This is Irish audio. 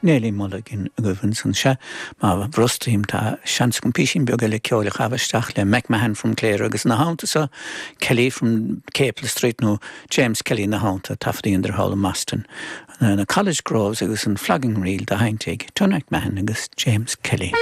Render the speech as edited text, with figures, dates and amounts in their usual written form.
Neilí Mulligan agaibh ansan. Sea, má bhrostaím, tá seans agam písín beag eile ceoil a chaitheamh isteach le McMahon from Clare agus ina theannta so, Kelly from Capel Street nó James Kelly ina theannta, taifead a dheineadar thall i mBoston. Na College Groves agus an Flogging Reel á sheinnt ag Tony McMahon agus James Kelly.